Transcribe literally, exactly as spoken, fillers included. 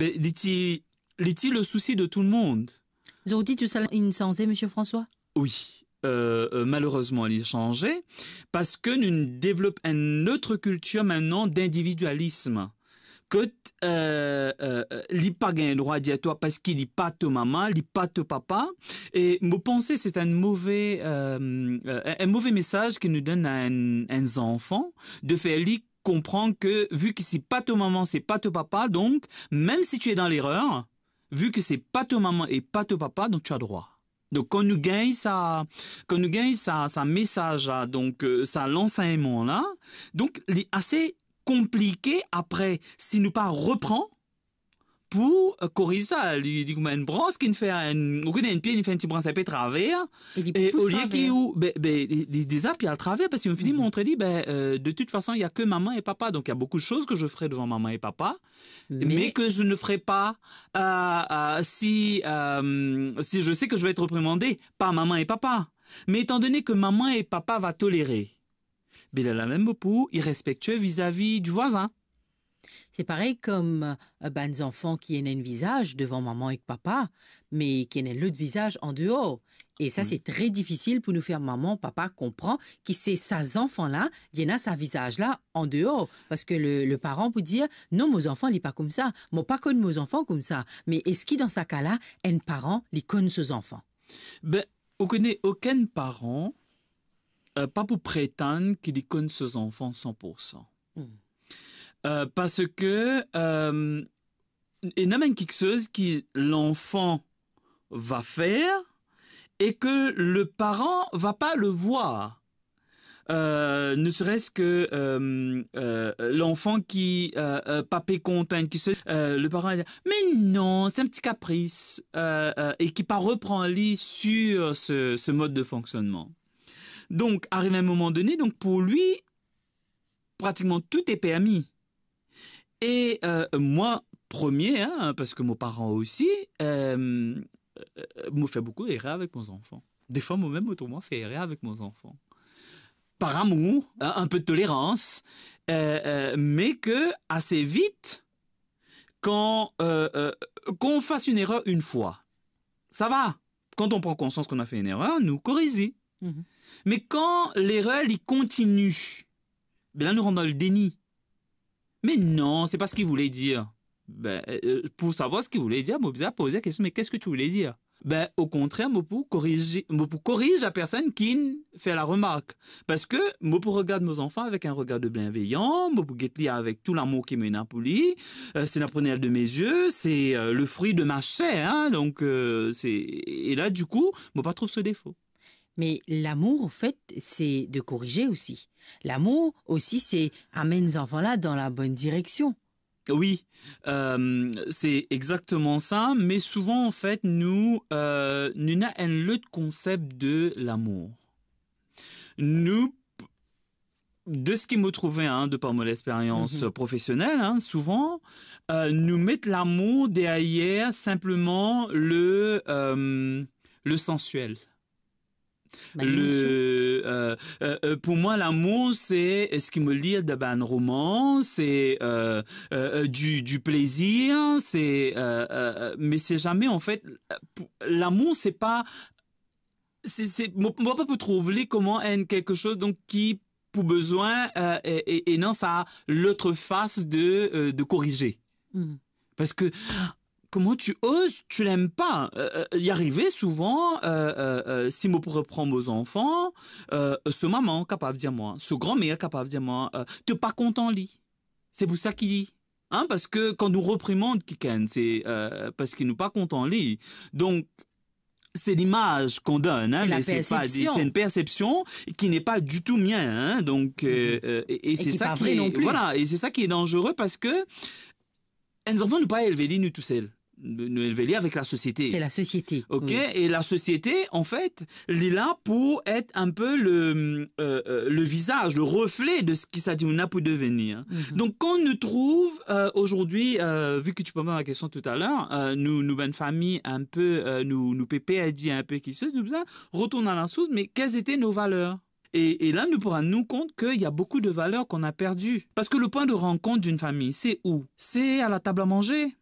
Be, li ti, li ti le sousi de tou le mond. Zordi, tou sa inn sanze, Misie François? Wi. Euh, euh, malerezman, li sanze, parski nou devlop enn lot kiltir mintnan d'individialism. Kot, euh, euh, euh, li pa gagn drwa dir twa parski li pa to mama, li pa to papa. E mo panse se enn move, euh, euh, enn move mesaz ki nou donn a enn, enn zanfan, de fer li konpran ke, vi ki se pa to mama, se pa to papa, donk, mem si tu es dans l'erreur, vi ki se pa to mama e pa to papa, donk tu as droit. Donk, kan nou gagn sa, kan nou gagn sa, sa mesaz la, donk, euh, sa lansegnman la, donk, li ase konplike apre, si nou pa repran pou, euh, koriz sa. Li, li kouma enn brans ki fer enn, ou kone enn pie, li fer enn ti brans enpe traver, e olie ki ou, be, be, li, li deza pie al traver, parski nou fini montre li, be, euh, de toute façon, il y a que maman et papa, donc il y a beaucoup de choses que je ferai devant maman et papa, mais que je ne ferai pas, euh, euh, si, euh, si je sais que je vais être réprimandé par maman et papa. Mais étant donné que maman et papa va tolérer, be la, la mem pou irrespektie vizavi di vwazin. Se parey kom, euh, bann zanfan ki ena enn vizaz devan mama ek papa, me ki ena enn lot vizaz andeor. E sa, se tre difisil pou nou fer mama, papa konpran ki se sa zanfan la, li ena sa vizaz la andeor. Parski le, le paran pou dir, "Non, mo zanfan, li pa koumsa. Mo pa konn mo zanfan koumsa." Me eski dan sa ka la, enn paran, li konn so zanfan? Be, ou kone, okenn paran, euh, pa pou pretann ki li konn so zanfan san pour san. Euh, parski, euh, ena bann kiksoz ki l'enfant va faire et que le parent va pas le voir. Euh, ne serait-ce que, euh, euh, l'enfant qui, euh, euh, pa pe kontan enn kiksoz, euh, le parent va dir, "Mais non, c'est un petit caprice", euh, euh, et qui pa repran li sur ce, ce mode de fonctionnement. Donc, arrive un moment donné, donc pour lui, pratiquement tout est permis. E, euh, mwa premie, hein, parski mo paran osi, euh, euh, mo fer boukou erer avek mo zanfan. Defwa, mo mem mo trouv mwa fer erer avek mo zanfan. Par amour, hein, un peu de tolérance, euh, euh, mais que assez vite, quand, euh, euh, qu'on fasse une erreur une fois, ça va. Quand on prend conscience qu'on a fait une erreur, nou korize. Mhm. Me kan lerer li kontini, be la nou rant dan le déni. "Mais non, c'est pas ce qu'il voulait dire." Be, euh, pou savwar seki voule dir, mo bizin poze kestion, "Mais qu'est-ce que tu voulais dire?" Be, okontrer, mo pou korize, mo pou koriz la personn ki fer la remark. Parski mo pou regard mo zanfan avek enn regar de bienveyan, mo pou get li avek tou lamour ki mo ena pou li. Euh, c'est la prunelle de mes yeux, c'est, euh, le fruit de ma chair, hein, donc, euh, c'est, e la, dikou, mo pa trouv so defo. Mais l'amour, en fait, c'est de corriger aussi. L'amour aussi, c'est amener les enfants là dans la bonne direction. Wi, euh, se exakteman sa, me souvan, anfet, nou, euh, nou ena enn lot konsep de lamour. Nou, de seki mo trouve, hein, de par mo lexperyans, mhm, profesionel, hein, souvan, euh, nou met lamour deryer sinpleman le, euh, le sensuel. Bann emosion. Le, euh, euh, euh, pou mwa, lamour, se, euh, seki mo lir dan bann roman, se, euh, euh, euh, du, du plaisir, se, euh, euh, euh, me se zame, anfet, euh, pou, lamour, se pa, se, se, mo, mo pa pou trouv li kouma enn kiksoz, donk, ki pou bizin, euh, e, e, e non, sa lot fas de, euh, de korize. Mhm. Parski, comment tu oses, tu l'aimes pas. Euh, euh, li arive souvan, euh, euh, euh, si mo pou repran mo zanfan, euh, so mama kapav dir mwa, so granmer kapav dir mwa, euh, to pa kontan li. Se pou sa ki, hein, parski kan nou reprimand kikenn, se, euh, parski nou pa kontan li. Donk, c'est l'image qu'on donne, hein, mais c'est pas, c'est une perception qui n'est pas du tout mien, hein, donc, euh, euh, et, et c'est ça qui est, voilà, et c'est ça qui est dangereux, parski enn zanfan, nou pa elve li nou tousel. Nou, nou elve li avek lasosiete. C'est la société, ok, oui. Et la société, en fait, li la pou et un peu le, euh, euh, le visage, le reflet de seki sa dimoun la pou devenir. Mhm. Donc, quand nou trouv, euh, aujourd'hui, euh, vu que tu me poses la question tout à l'heure, euh, nou, nou bann fami, un peu, euh, nou, nou pe perdi un peu kiksoz, nou bizin retourn à la source, mais quelles étaient nos valeurs? Et, et là, nous pourrons nous rendre compte qu'il y a beaucoup de valeurs qu'on a perdues. Parce que le point de rencontre d'une famille, c'est où? C'est à la table à manger.